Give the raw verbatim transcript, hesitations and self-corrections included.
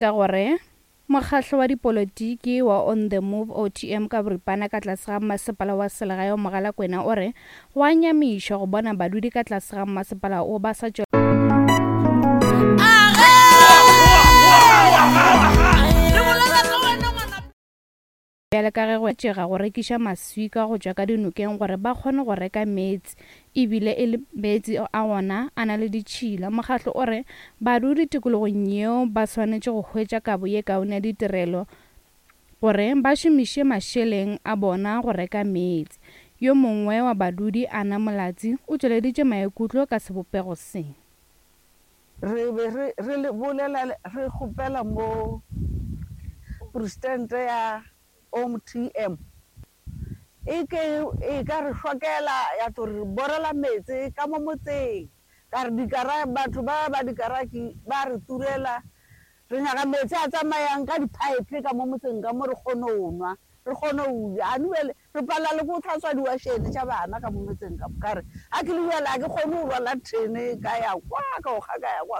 Ka gore mokgahlo wa dipolotiki wa On The Move, O T M ka boripana, ka tlase ga mmasepala wa selegae wa Mogalakwena o re go a nyamiša go bona badudi ka tlase ga mmasepala o ba sa tšwela bjale ka ge go tšega go rekiša maswika go tšwa ka dinokeng gore ba kgone go reka meetse, ebile e le meetse a gona a na le ditšhila. Mokgahlo o re badudi tikologong yeo ba swanetše go hwetša kabo ye kaone ya ditirelo gore ba šomiše mašeleng a bona go reka meetse. Yo mongwe wa badudi, Anna Molatsi, o tšweleditše maikutlo ka sebopego se. Re be re, re le bolela, re kgopela mo presidente ya O M T M e ke e ka re hlokela ya tlo re borela meetse ka mo motseng, ka re dikara, batho ba ba dikaraki ba re turela, re nyaka meetse a tsamayang ka di-pipe ka mo motseng ka mo re kgone ho nwa, re kgone ho ja. Ane bjale re palela le ko tlhatswa diwašene tša bana ka mo motseng ka mo, ka re a ke le bjale a ke kgone ho rwala thene ka ya kwa, ka o kga ka ya kwa.